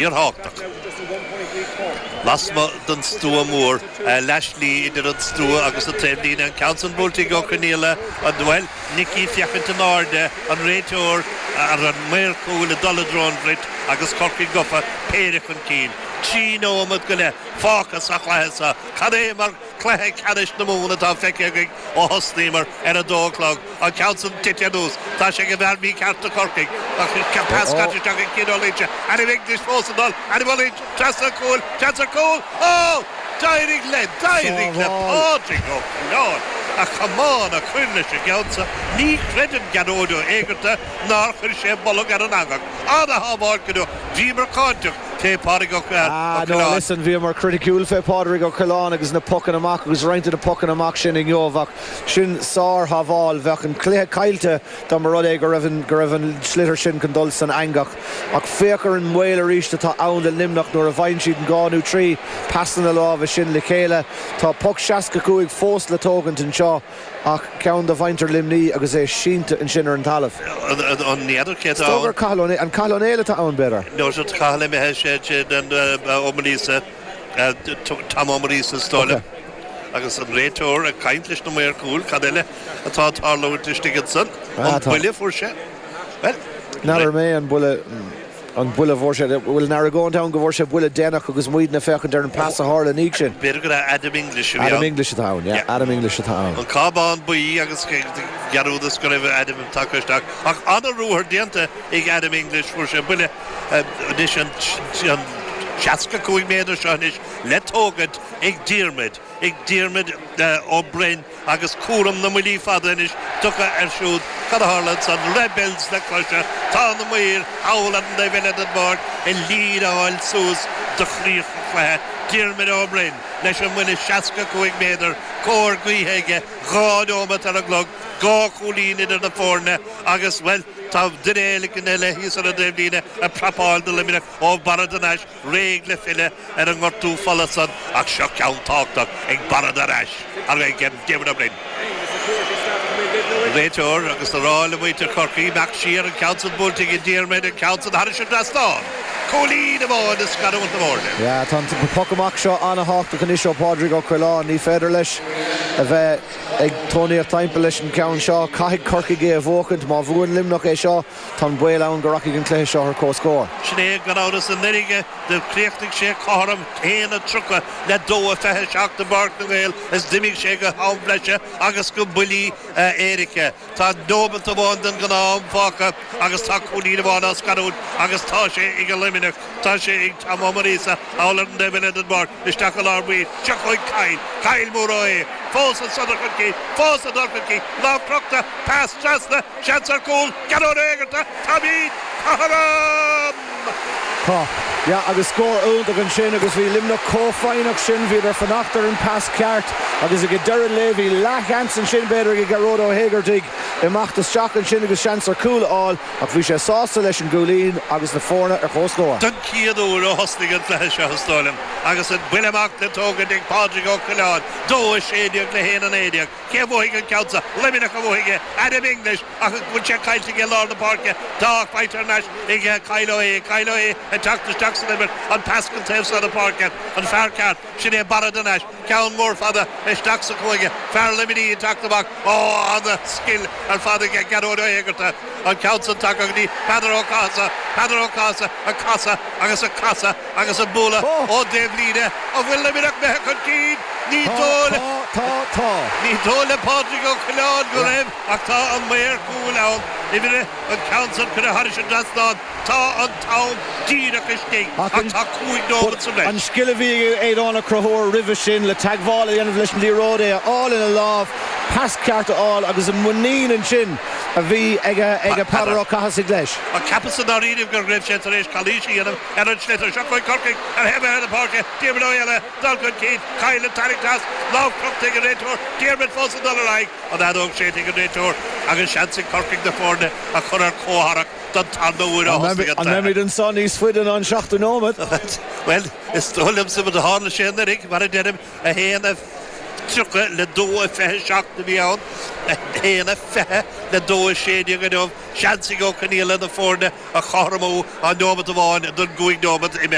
Fíorthábhachtach. Lasmuigh den stua mór, leathshlí idir an stua agus an taobhlíne, an ceann san buailte ag Ó Conaola, an, bhuel, Nicky féachaint in airde, an réiteoir, an maor cúil ag dul i dtreo an bhrait agus Corcaigh gafa péire chun cinn. 3 nóiméad go leith fágtha sa chluiche seo. Cad é mar chluiche ceannais na Mumhan atá feicthe againn ó thosnaíomar ar a dó a chlog. An ceann san tite anuas. Tá sé ag an bhfear mícheart do Chorcaigh. Ach pas caite isteach ag Cian Ó Loingsigh. Adam English fós ag dul. Adam Ó Loingsigh trasna an chúil. Seans ar chúl. Ó! D'éirigh le, d'éirigh le Pádraig Ó Coileáin a chamán a chur leis an gceann seo. Ní chreideann Gearóid Ó hÉigeartaigh nár chuir sé bolg ar an eangach. Ana-shábháil go deo. Bhíomar cáinteach fé Phádraig Ó Ah no, Coileáin. listen, bhíomar criticiúil fé Phádraig Ó Coileáin agus na pocanna amach agus roinnt de na pocanna amach sin inniu ach Sin sár-shábháil. Bheadh an cluiche caillte dá mba rud é go raibh an go raibh an sliotar sin chun dul san eangach. Ach féach ar an mbaol arís atá ann do Luimneach nuair a bhfaigheann siad an dhá nó trí pasanna láimhe sin le chéile. Tá poc 65 fós le tógaint anseo ach ceann de mhuintir Luimní agus é sínte ansin ar an talamh. An n'fheadar cé atá ann? Is dóigh gur Cathal Ó Néill, an Cathal Ó Néill atá ann b'fhéidir? No, tá Cathal imithe, sé Ó Maoilíosa. Tom Ó Maoilíosa is dóigh liom. Agus an réiteoir ag caint leis na maoir cúil, cad eile atá ag tarlúint istigh ansan? An buille a fuair sé? Bhuel. N'fheadar mé an buille, an buille a fuair sé. Bhfuil an argóint ann go bhfuair sé buille déanach agus muidne ag féachaint ar an pas a tharla ina dhiaidh sin? B'fhéidir gur Adam English a bhí ann. Adam English atá ann, yeah. Adam English atá ann. An cábán buí agus dhearúdas go raibh Adam tagtha isteach. Ach an-ruathar déanta ag Adam English, fuair sé buille. Anois an 65 méadar seo anois le tógaint ag Diarmuid, ag Diarmuid Ó Broin agus cúram na mbuillí fada anois tugtha air siúd. Cad a tharla ansan? Rebels le cloiseadh. Tá na maoir thall ar an dtaobh eile den bpáirc ag líneáil suas do chríoch an chluiche. Diarmuid Ó Broin leis an mbuille 65 méadar, cóir gaoithe aige, 2 neomat ar an gclog, 2 chúilín idir na foirne agus, bhuel, Tá duine éigin eile thíos ar an dtaobhlíne ag prapáil do Luimneach ó Barra de Nais réidh le filleadh ar an ngortú fola san ach seo ceann tábhachtach ag Barra de Nais ag Diarmuid Ó Broin. An réiteoir agus ag rá le muintir Chorcaí imeacht siar an ceann san buailte ag Diarmuid an ceann san thairis an dtrasnán. Cúilín amháin ag scarúint na bhfoirne. Yeah, tá an poc amach seo an-thábhachtach anois ó Phádraig Ó Coileáin. Ní féidir leis a bheith. Ag tónaíocht timpeall leis an gceann seo, caithfidh Corcaigh é a bhuachaint. Má bhuann Luimneach é seo, tá an baol ann go rachaidh an cluiche seo ar comhscór. Sin é, gan amhras, anuraidh do chríochnaigh sé cothrom 1:30 le 2:27 i bPáirc na nGael is d'imigh sé go ham breise agus go buillí éirice. Tá nóimeat amháin den ghnáth-am fágtha agus tá cúilín amháin á scarúint agus tá sé ag Luimneach. Tá sé ag Tom Ó Muiríosa thall ar an dtaobh eile den bpáirc, isteach i lár baill. Seo chugainn Kyle. Kyle Mór Ó hAodha. Fós ansan dul chun cinn. Fós ag dul chun cinn. Lámh crochta. Pas trasna. Seans ar chúl. Gearóid Ó hÉigeartaigh. Táimid cothrom! Tá. Yeah, agus scór iontach ansin agus bhí Luimneach chomh foighneach sin, bhíodar fanacht ar an pas ceart agus ag deireadh an lae bhí leathsheans ansin b'fhéidir ag Gearóid Ó hÉigeartaigh imeacht isteach ansin agus seans ar chúl a fháil ach bhí sé sásta leis an gcúilín agus na foirne ar comhscór. Don chéad uair ó thosnaigh an cluiche seo is dóigh liom agus an buille amach le tógaint ag Pádraig Ó Coileáin, 2-16 le 1-19. Cé a bhuafaidh an ceann seo? Luimneach a bhuafaidh é. Adam English ach an bhfuil sé caillte aige i lár na páirce? Tá ach faighte thar n-ais ag Kyle Ó hAodha. Kyle Ó hAodha ag teacht isteach san imirt. An pas go taobh seo na páirce. An fear ceart. Sin é Barra de Nais. Ceann mór fada isteach sa chúinne. Fear Luimnigh ag teacht amach. Ó, ana-scil ar fad aige Gearóid Ó hÉigeartaigh. An ceann san tagtha go dtí Peadar Ó Cathasaigh. Peadar Ó Cathasaigh ag casadh agus ag casadh agus ag bualadh ón dtaobhlíne. An bhfuil Luimneach imithe chun cinn? Ní dóigh Tá, tá, tá. Ní dóigh le Pádraig Ó Coileáin go raibh ach tá an maor cúil ann. Uimhir an ceann san curtha thairis an dtrasnán. Tá an t-am díreach istigh ach tá 5 nóimeat sa bhreis. An scil a bhí ag Aodán Ó Conchúir roimhe sin le teagmháil a dhéanamh leis an liathróid, é a fháil ina lámh, pas ceart a fháil agus an muinín ansin a bhí ag Peadar Ó Cathasaigh leis. Ach cheapas i ndáiríribh go raibh sé tar éis calaois a dhéanamh ar an sliotar. Seo chugainn Corcaigh ar thaobh eile na páirce. Diarmuid Ó hÉalaithe dul chun cinn. Kyle ag tarraingt as. Lámh crochta ag an réiteoir. Diarmuid fós ag dul ar aghaidh. An fheadóg séidte ag an réiteoir agus seans ag Corcaigh na foirne a chur ar comhtharrac don tarna huair ó thosnaigh an An mbeimid cluiche. anso níos faide ná an seachtú nóiméad? Bhuel, is dóigh liomsa, mar do tharla sé anuraidh, mar a deirim, 1. 1:30 le 2:27 a bhí ann, 1:20 le 2:16 inniu. Seans ag Ó Conghaile na foirne a chothromú, tá neomat amháin don gcúig neomat imithe.